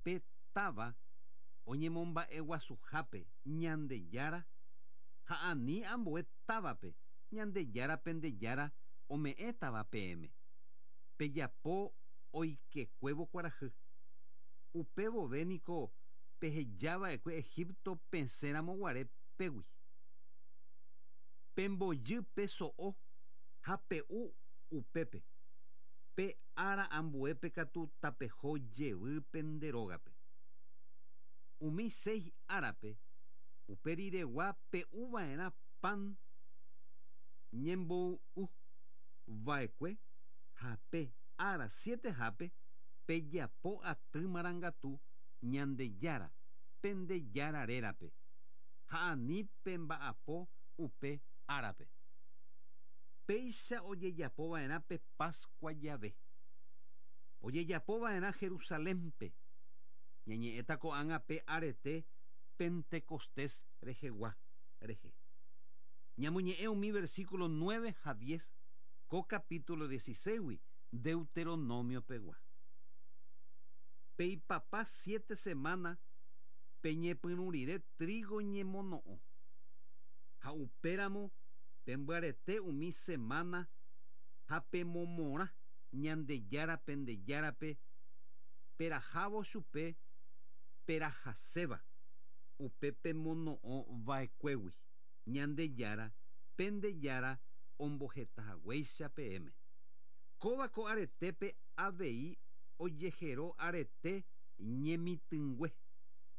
Pe táva oñemomba'eguasuhápe Ñandejára ha ani ambue távape Ñandejára pende Jára ome'ẽtava peẽme. Pejapo oikekuévo kuarahy. Upe vove niko pehejava'ekue Egipto pesẽ ramo guare pégui. Pembojy pe so'o ha pe'u upépe. Pe ára ambuépe katu tapeho jevy pende rógape. Umi seis árape upe riregua pe'uva'erã pan ñemboy'u va'ekue ha pe ára sietehápe pejapo aty marangatu Ñandejára pende Jára rérape ha ani pemba'apo upe árape. Péicha ojejapova'erã pe Pascua jave. Ojejapova'erã Jerusalénpe. Ñañe'ẽta ko'ág̃a pe arete Pentecostés rehegua rehe. Ñamoñe'ẽ umi versículo 9 ha 10 ko capítulo 16-gui Deuteronomio pegua. Peipapa siete semana peñepyrũ rire trigo ñemono'õ. Ha upéramo pembyarete umi semana ha pemomorã Ñandejára pende Járape perahávo chupe perahaséva upe pemono'õ va'ekuégui Ñandejára pende Jára ombohetahaguéicha peẽme. Kóva ko aretépe avei ojehero arete ñemitỹngue,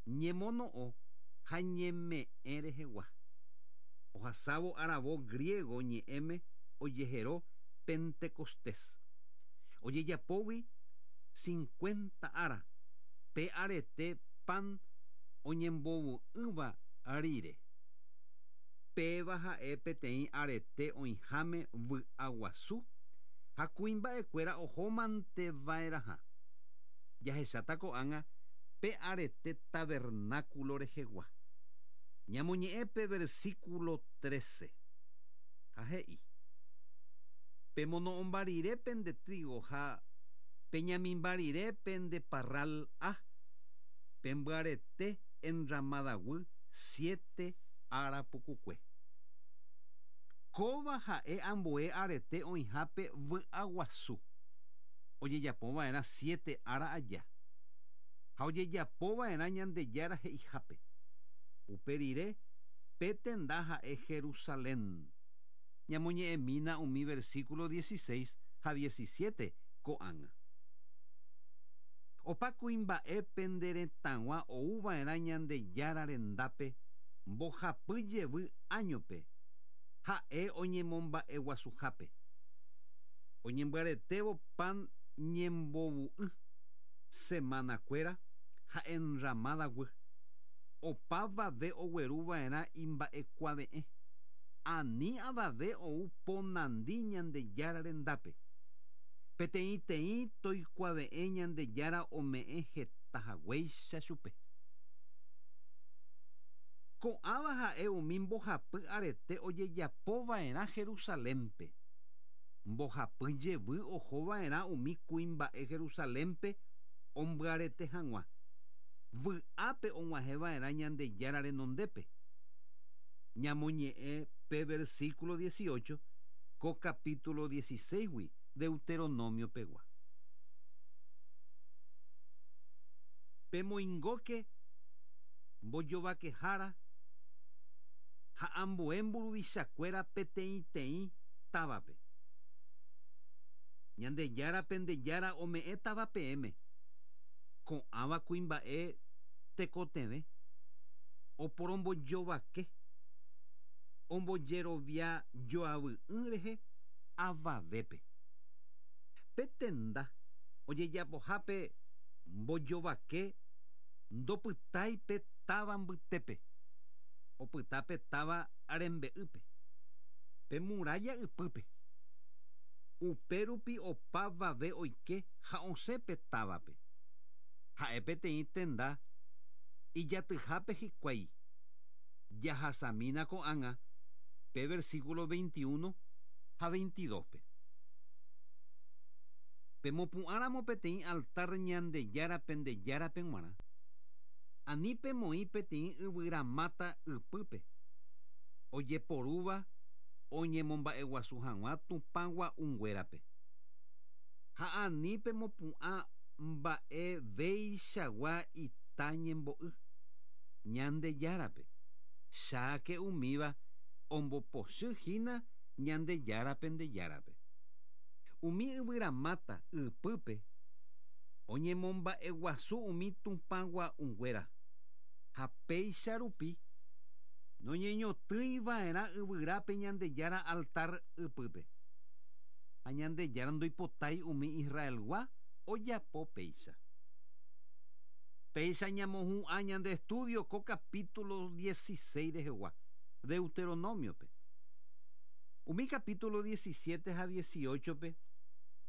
ñemono'õ ha ñeme'ẽ rehegua. Ohasávo aravo griego ñe'ẽme ojehero Pentecostés. Ojejapógui 50 ára pe arete pan oñembovu'ỹva rire. Péva ha'e peteĩ arete oĩháme vy'aguasu ha kuimba'ekuéra ohomanteva'erãha. Jahecháta ko'ág̃a pe arete tabernáculo rehegua. Ñamoñe'ẽ pe versículo 13. Ha he'i: Pemono'õmba rire pende trigo ha peñamimba rire pende parral a pembyarete enramadaguy siete ára pukukue. Kóva ha'e ambue arete oĩhápe vy'aguasu. Ojejapova'erã siete ára aja. Ha ojejapova'erã Ñandejára he'ihápe. Upe rire pe tenda ha'e Jerusalén. Ñamoñe'ẽmína umi versículo 16 ha 17 ko'ág̃a. Opa kuimba'e pende retãgua ouva'erã Ñandejára rendápe mbohapy jevy áñope ha'e oñemomba'eguasuhápe. Oñembyaretévo pan ñembovu'ỹ, semanakuéra ha enramadaguy. Opavave ogueruva'erã imba'ekuave'ẽ. Ani avave ou ponandi Ñandejára rendápe. Peteĩteĩ toikuave'ẽ Ñandejára ome'ẽ hetahaguéicha chupe. Ko'ãva ha'e umi mbohapy arete ojejapova'erã Jerusalénpe. Mbohapy jevy ohova'erã umi kuimba'e Jerusalénpe ombyarete hag̃ua. Vy'ápe og̃uahẽva'erã Ñandejára renondépe. Ñamoñe'ẽ pe versículo 18 ko capítulo 16-gui Deuteronomio pegua. Pemoingóke mbojovakehára ha ambue mburuvichakuéra peteĩteĩ távape. Ñandejára pende Jára ome'ẽtava peẽme. Ko'ãva kuimba'e tekotevẽ oporombojovake ombojerovia joavy'ỹ rehe avavépe. Pe tenda ojejapohápe mbojovake ndopytái pe táva mbytépe. Opyta pe táva rembe'ýpe. Pe muralla ypýpe. Upérupi opavave oike ha osẽ pe távape. Ha'e peteĩ tenda ijatyhápe hikuái. Jahasamína ko'ág̃a pe versículo 21 ha 22-pe. Pemopu'ãramo peteĩ altar Ñandejára pende Járape g̃uarã, ani pemoĩ peteĩ yvyramáta ypýpe, ojeporúva oñemomba'eguasu hag̃ua tupã gua'unguérape. Ha ani pemopu'ã mba'eveichagua ita ñembo'y Ñandejárape, cháke umíva ombopochy hína Ñandejára pende Járape. Umi yvyramáta ypýpe oñemomba'eguasu umi tupã gua'unguéra, ha péicha rupi noñeñotỹi va'erã yvyrápe Ñandejára altar ypýpe. Ha Ñandejára ndoipotái umi Israelgua ojapo péicha. Péicha ñamohu'ã ñande estudio ko capítulo 16 rehegua, Deuteronomio-pe. Umi capítulo 17 ha 18-pe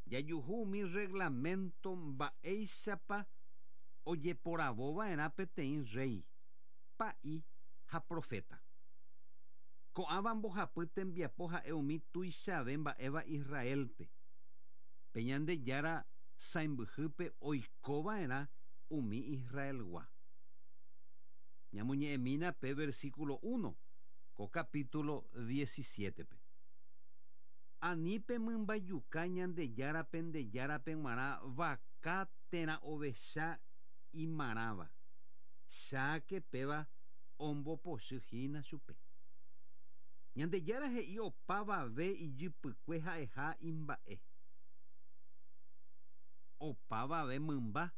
jajuhu umi reglamento mba'éichapa ojeporavo va'erã peteĩ rréi, pa'i ha proféta. Ko'ãva mbohapy tembiapo ha'e umi tuichave mba'éva Israélpe. Pe Ñandejára sãimbyhýpe oiko va'erã umi Israelgua. Ñamoñe'ẽmína pe versículo uno ko capítulo diecisiétepe. Ani pemymbajuka Ñandejára pende Járape g̃uarã vaka térã ovecha imarãva, cháke péva ombopochy hína chupe. Ñandejára he'i opavave ijypykue ha'eha imba'e. Opavave mymba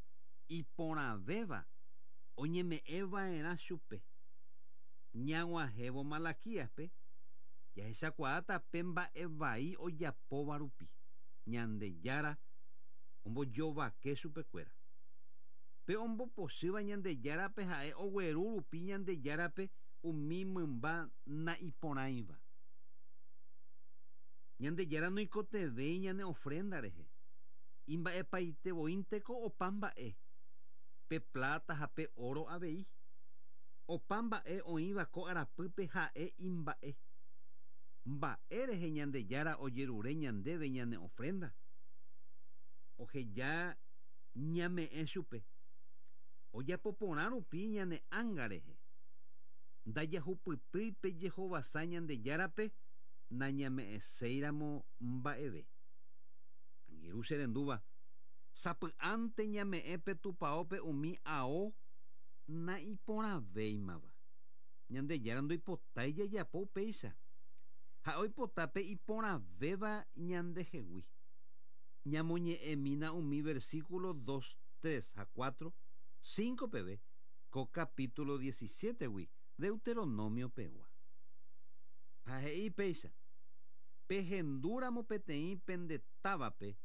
iporãvéva oñeme'ẽ va'erã chupe. Ñag̃uahẽvo Malaquíaspe, jahechakuaáta pe mba'e vai ojapóva rupi, Ñandejára ombojovake chupekuéra. Pe ombopochýva Ñandejárape ha'e ogueru rupi Ñandejárape umi mymba na'iporãiva. Ñandejára noikotevẽi ñane ofrénda rehe. Imba'epaite voínteko opa mba'e, pe pláta ha pe óro avei. Opa mba'e oĩva ko arapýpe ha'e imba'e. Mba'e rehe Ñandejára ojerure ñandéve ñane ofrénda? Oheja ñame'ẽ chupe. Ojapo porã rupi ñane ánga rehe. Ndajahupytýi pe jehovasa Ñandejárape nañame'ẽséiramo mba'eve. Angirũ che rendúva, sapy'ánte ñame'ẽ pe tupaópe umi ao naiporãvéimava. Ñandejára ndoipotái jajapo upéicha. Ha'e oipota pe iporãvéva ñandehegui. Ñamoñe'ẽmína umi versículo dos, tres ha cuatro, cinco peve ko capítulo diecisiétegui Deuteronomio pegua. Ha he'i péicha, Pehendúramo peteĩ pende távape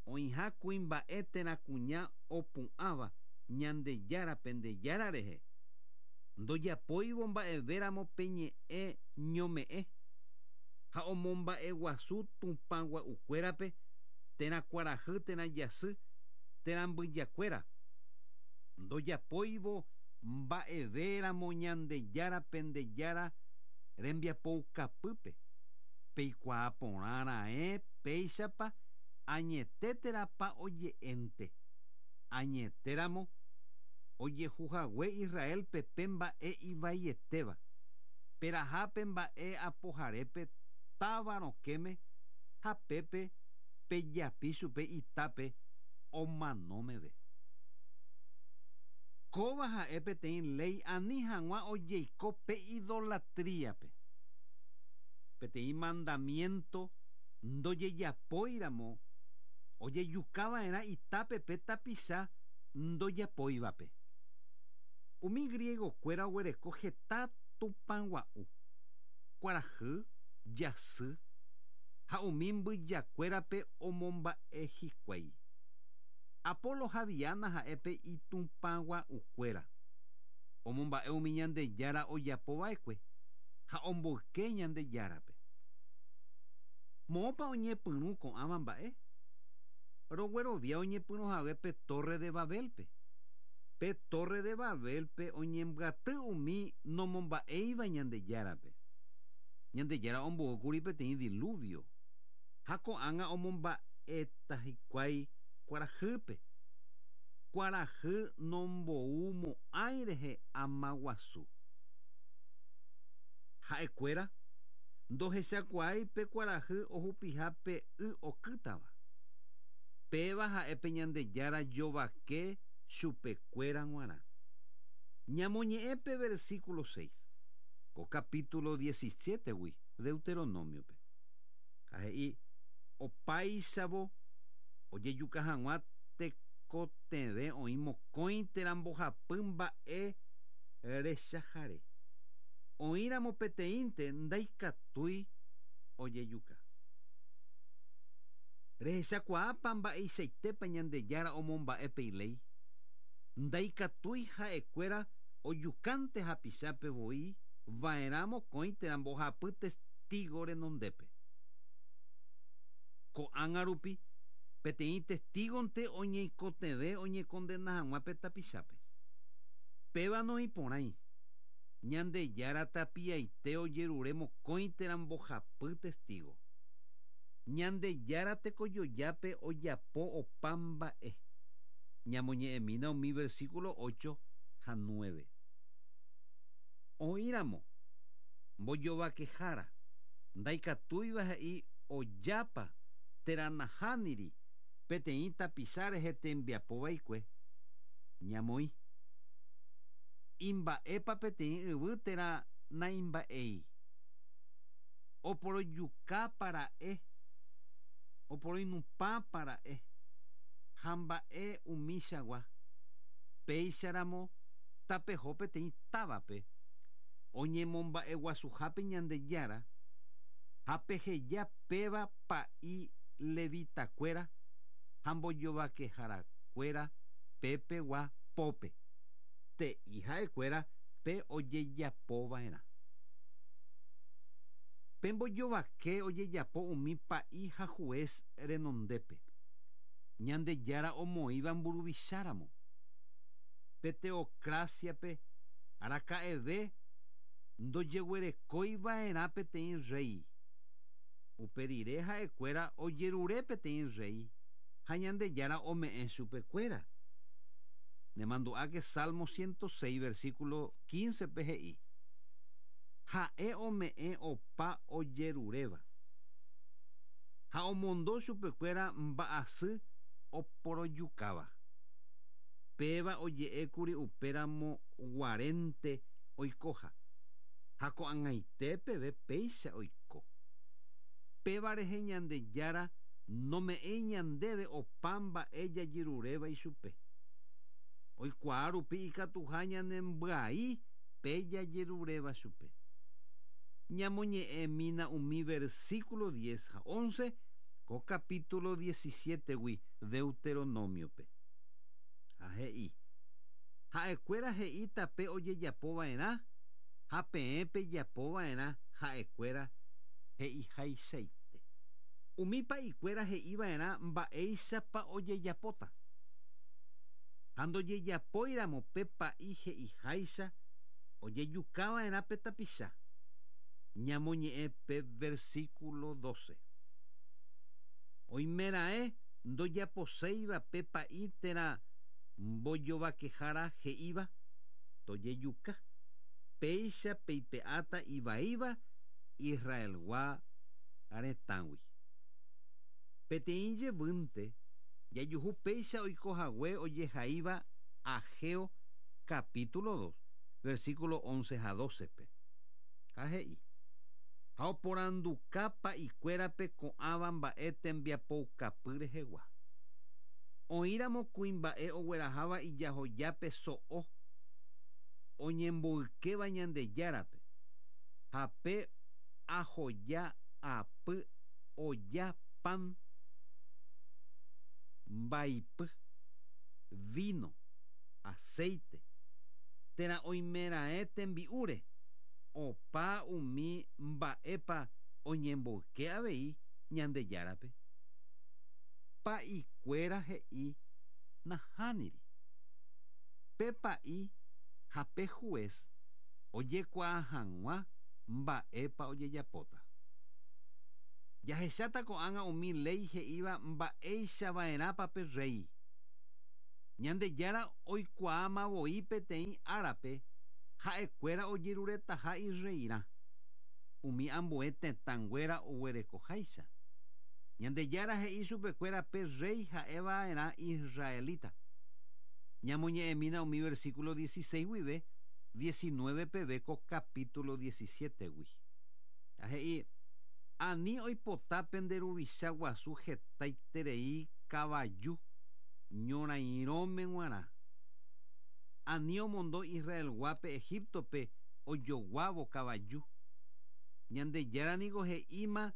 oĩha kuimba'e térã kuña opu'ãva Ñandejára pende Jára rehe, ndojapóivo mba'evéramo pe ñe'ẽ ñome'ẽ ha omomba'eguasu tupã gua'ukuérape térã kuarahy térã jasy térã mbyjakuéra, ndojapóivo mba'evéramo Ñandejára pende Jára rembiapoukapýpe, peikuaa porã raẽ péichapa añete térãpa oje'énte. Añetéramo, ojehu hague Israélpe pe mba'e ivaietéva, peraha pe mba'e apoharépe táva rokẽme ha pépe pejapi chupe itápe omano meve. Kóva ha'e peteĩ léi ani hag̃ua ojeiko pe idolatríape. Peteĩ mandamiénto ndojejapóiramo ojejuka va'erã itápe pe tapicha ndojapóivape. Umi griegokuéra oguereko heta tupãgua'u, kuarahy, jasy ha umi mbyjakuérape omomba'e hikuái. Apolo ha Diana ha'e pe itupãgua'ukuéra. Omomba'e umi Ñandejára ojapo va'ekue ha omboyke Ñandejárape. Moõpa oñepyrũ ko'ãva mba'e? Roguerovia oñepyrũ hague pe Torre de Babélpe. Pe Torre de Babélpe oñembyaty umi nomomba'éiva Ñandejárape. Ñandejára omboúkuri peteĩ diluvio, ha ko'ág̃a omomba'éta hikuái. kuarahýpe. Kuarahy nomboumo'ãi rehe ama guasu. Ha'ekuéra ndohechakuaái pe kuarahy ohupiha pe y okýtava. Péva ha'e pe Ñandejára jovake chupekuéra g̃uarã. Ñamoñe'ẽ pe versículo 6, ko capítulo 17-gui Deuteronomio-pe. Ha he'i, Opáichavo ojejuka hag̃ua tekotevẽ oĩ mokõi térã mbohapy mba'e rechahare. Oĩramo peteĩnte ndaikatúi ojejuka. Rehechakuaápa mba'eichaitépa Ñandejára omomba'e pe iléi? Ndaikatúi ha'ekuéra ojukánte hapichápe voi va'erã mokõi térã mbohapy testígo renondépe. Ko'ág̃a rupi, peteĩ testígonte oñeikotevẽ oñekondena hag̃ua pe tapichápe. Péva noĩporãi. Ñandejára tapiaite ojerure mokõi térã mbohapy testígo. Ñandejára tekojojápe ojapo opa mba'e. Ñamoñe'ẽmína umi versículo 8 ha 9. Oĩramo mbojovakehára ndaikatúiva he'i ojápa térã nahániri peteĩ tapicha rehe tembiapo vaikue, ñamoĩ. Imba'épa peteĩ yvy térã naimba'éi. Oporojukápa ra'e, oporoinupãpa ra'e, ha mba'e umíchagua. Péicharamo tapeho peteĩ távape oñemomba'eguasuhápe Ñandejára ha peheja péva pa'i levitakuéra ha mbojovakeharakuéra pepegua pópe, te'i ha'ekuéra pe ojejapova'erã. Pe mbojovake ojejapo umi pa'i ha juez renondépe, Ñandejára omoĩva mburuvicháramo. Pe teocracia-pe araka'eve ndojeguerekóiva'erã peteĩ rréi. Upe rire ha'ekuéra ojerure peteĩ rréi ha Ñandejára ome'ẽ chupekuéra. Nemandu'áke Salmo 106 versículo 15-pe he'i, Ha'e ome'ẽ opa ojeruréva, ha omondo chupekuéra mba'asy oporojukáva. Péva oje'ékuri upéramo guarénte oikoha, ha ko'ag̃aite peve péicha oiko. Péva rehe Ñandejára nome'ẽi ñandéve opa mba'e jajeruréva ichupe. Oikuaa rupi ikatuha ñanembyai pe jajeruréva chupe. Ñamoñe'ẽmína umi versículo 10 ha 11 ko capítulo 17-gui Deuteronomio-pe. Ha he'i, Ha'ekuéra he'íta pe ojejapova'erã ha peẽ pejapova'erã ha'ekuéra he'ihaichaite. Umi pa'ikuéra he'iva'erã mba'éichapa ojejapóta. Ha ndojejapóiramo pe pa'i he'iháicha ojejukava'erã pe tapicha. Ñamoñe'ẽ pe versículo 12. Oimeraẽ ndojaposéiva pe pa'i térã mbojovakehára he'íva tojejuka, péicha peipe'áta ivaíva Israelgua retãgui. Peteĩ jevýnte jajuhu péicha oiko hague ojehaíva Ageo capítulo 2, versículo 11 ha 12-pe. Ha he'i, Ha oporanduka pa'ikuérape ko'ãva mba'e tembiapoukapy rehegua. Oĩramo kuimba'e ogueraháva ijahojápe so'o oñemboykéva Ñandejárape, ha pe ahoja apy oja pan, mbaipy, vino, aceite, térã oimeraẽ tembi'úre, opa umi mba'épa oñemboyke avei Ñandejárape. Pa'ikuéra he'i nahániri. Pe pa'i ha pe juez ojekuaa hag̃ua mba'épa ojejapóta. Jahecháta ko'ág̃a umi léi he'íva mba'eichava'erãpa pe rréi. Ñandejára oikuaáma voi peteĩ árape ha'ekuéra ojeruretaha irreirã, umi ambue tetãnguéra oguerekoháicha. Ñandejára he'i chupekuéra pe rréi ha'eva'erã israelita. Ñamoñe'ẽmína umi versículo 16 guive 19 peve ko capítulo 17-gui. Ha he'i, Ani oipota pende ruvicha guasu hetaiterei kavaju ñorairõme g̃uarã. Ani omondo Israelguápe Egiptope ojoguávo kavaju. Ñandejára niko he'íma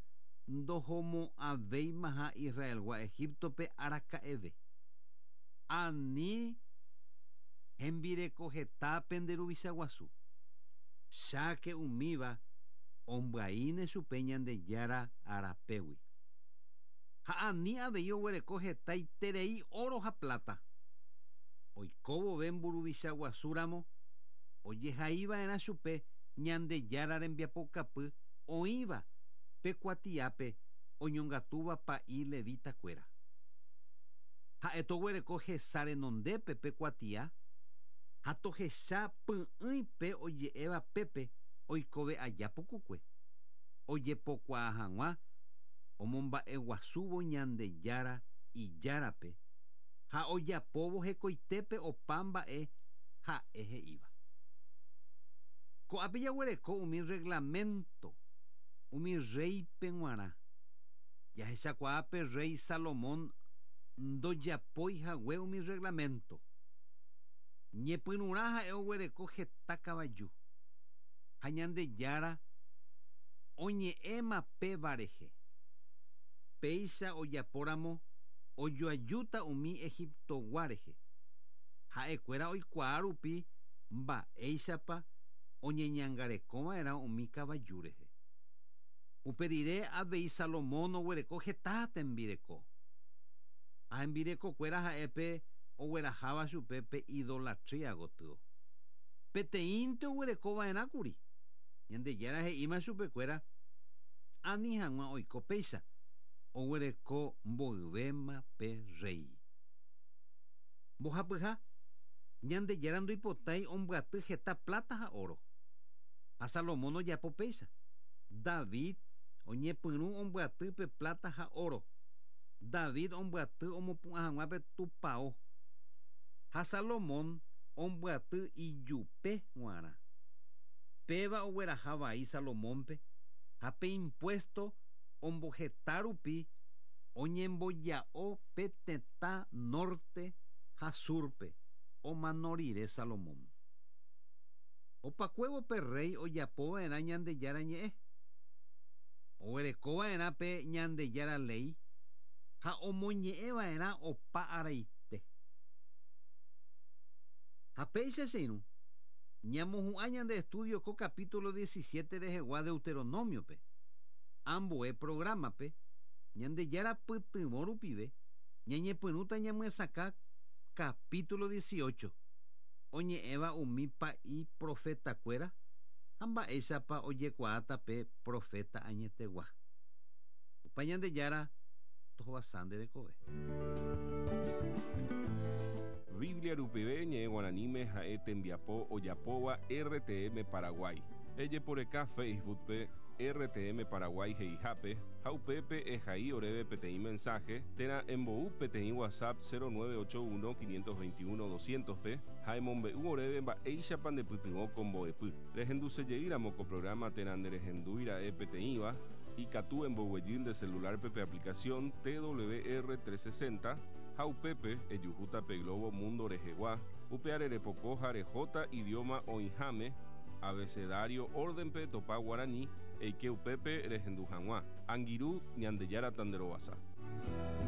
ndohomo'ãvéimaha Israelgua Egiptope araka'eve. Ani hembireko heta pende ruvicha guasu. Cháke umíva ombyaíne chupe Ñandejára arapégui. Ha ani avei oguereko hetaiterei óro ha pláta. Oiko vove mburuvicha guasúramo, ojehaiva'erã chupe Ñandejára rembiapokapy oĩva pe kuatiápe oñongatúva pa'i levitakuéra. Ha'e toguereko hesa renondépe pe kuatia ha tohecha py'ỹi pe oje'éva pépe oikove aja pukukue, ojepokuaa hag̃ua omomba'eguasúvo Ñandejára Ijárape ha ojapóvo hekoitépe opa mba'e ha'e he'íva. Ko'ápe jaguereko umi reglamento umi rréipe g̃uarã. Jahechakuaa pe rréi Salomón ndojapói hague umi reglamento. Ñepyrũrã ha'e oguereko heta kavaju, ha Ñandejára oñe'ẽma péva rehe. Péicha ojapóramo ojoajúta umi Egiptogua rehe. Ha'ekuéra oikuaa rupi mba'éichapa oñeñangarekova'erã umi kavaju rehe. Upe rire avei Salomón oguereko heta tembireko. Ha hembirekokuéra ha'e pe ogueraháva chupe pe idolatría gotyo. Peteĩnte oguerekova'erãkuri. Ñandejára he'íma chupekuéra ani hag̃ua oiko péicha, oguereko mboyvéma pe rréi. Mbohapyha, Ñandejára ndoipotái ombyaty heta pláta ha óro. Ha Salomón ojapo péicha. David oñepyrũ ombyaty pe pláta ha óro. David ombyaty omopu'ã hag̃ua pe tupao. Ha Salomón ombyaty ijupe g̃uarã. Péva ogueraha vai Salomónpe ha pe impuésto omboheta rupi oñemboja'o pe tetã norte ha súrpe omano rire Salomón. Opakuévo pe rréi ojapova'erã Ñandejára ñe'ẽ. Oguerekova'erã pe Ñandejára léi ha omoñe'ẽva'erã opa araite. Ha péicha che irũ, ñamohu'ã ñande estudio ko capítulo 17 rehegua Deuteronomio-pe. Ambue programa-pe, Ñandejára pytyvõ rupive, ñañepyrũta ñamyesakã capítulo 18, oñe'ẽva umi pa'i profetakuéra ha mba'éichapa ojekuaáta pe proféta añetegua. Tupã Ñandejára tohovasa nde rekove. Biblia rupive ñe'ẽ guaraníme ha'e tembiapo ojapóva RTM Paraguay. Ejeporeka Facebook-pe RTM Paraguay he'ihápe ha upépe ehai oréve peteĩ mensaje térã embou peteĩ WhatsApp 0981 521 200-pe ha emombe'u oréve mba'éichapa ndepytyvõ ko mbo'epy. Rehendusejeýramo ko programa térã nderehendúira'e peteĩva, ikatu emboguejy nde celular-pe pe aplicación TWR 360 ha upépe ejuhúta pe globo mundo rehegua, upe arerepoko ha rehóta idioma oĩháme, abecedario orden-pe topa guarani, eike upépe rehendu hag̃ua. Angirũ, Ñandejára tanderovasa.